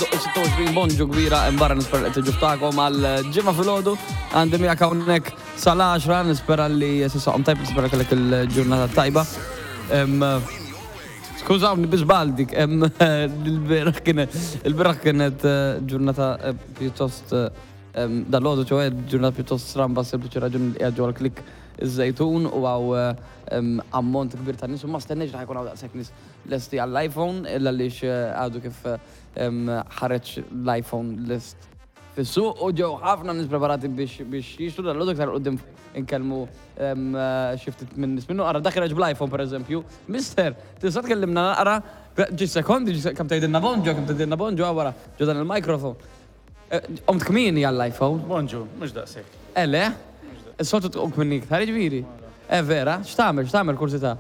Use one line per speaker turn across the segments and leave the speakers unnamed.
idoqqu 26 bonġu kbira barra nispera li tiġu ftakom għal ġimgħa filgħodu għandi miegħek hawnhekk sal-10 nispera li sisaqhom tajb nispera kellek il-ġurnata tajba. Skużawni bi żball dik, il-bieraħ kienet il-bieraħ kienet eh, ġurnata eh, pjuttost eh, dal-għodu ċoħe ġurnata pjuttost stramba sempliċi raġuni li qiegħed ġewwa l-klik iż-żejtun u għaw ammont kbir ta' nies u ma stennejx li ħajkun hawn daqshekk nies lesti għall-iPhone illa għaliex għadu kif ħareġ l-iPhone list fis-suq u ġew ħafna nies preparati biex biex jixtru dal-għodu iktar quddiem inkellmu xi ftit minn nies minnu. Ara dak ħareġ bl-iPhone pereżempju. Mister, tista' tkellimna naqra ġi sekondi, kemm tgħidilna bonġo, kemm tgħidilna bonġo wara ġo dan il-microphone. Qomt kmieni għall-iPhone.
Bonġu, mhux daqshekk.
Eh le? Is-soltu tqum kmieni iktar, jiġifieri? Eh vera? X'tagħmel, x'tagħmel kursità?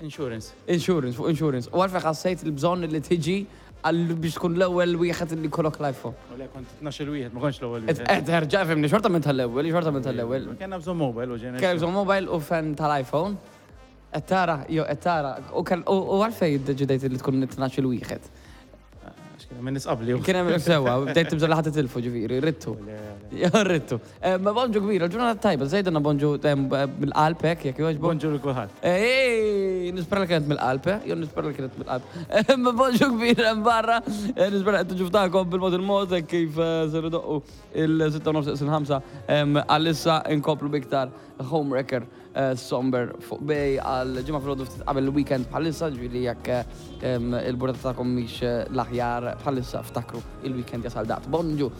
Insurance.
Insurance, fuq insurance. U għalfejn ħassejt il-bżonn li tiġi għal biex tkun l-ewwel wieħed li jkollok l-iPhone?
U le, kont 12-il wieħed, ma kontx l-ewwel wieħed.
Eh, terġa' fimni, xorta minn tal-ewwel, xorta minn tal-ewwel.
Kellna bżonn mobile u ġejna.
Kellna bżonn mobile u fan tal-iPhone. Qed tara, jo qed tara. U għalfejn iddeċidejt li tkun it-12-il wieħed?
Għax kien hemm in-nies qabli.
Kien hemm sewwa, bdejt tibża' li ħadd itilfu ġifieri, ridtu. Ridtu. Ma bonġu kbira, ġurnata tajba, żejdilna bonġu mill-qalb hekk jekk jogħġbok.
Bonġu lil kulħadd.
Ej, nispera li kienet mill-qalb, eh? Jew nispera li kienet mill-qalb. Ma bonġu kbira hemm barra, nispera qed tiġu ftakom bil-mod il-mod hekk kif ser idoqqu il-6 nofs il-5 għalissa inkomplu biktar Homewrecker Somber fuq Bay għal ġimgħa filgħodu ftit qabel il-weekend bħalissa, ġifieri jekk il-burdata tagħkom mhix l-aħjar bħalissa ftakru il-weekend jasal daqt. Bonġu!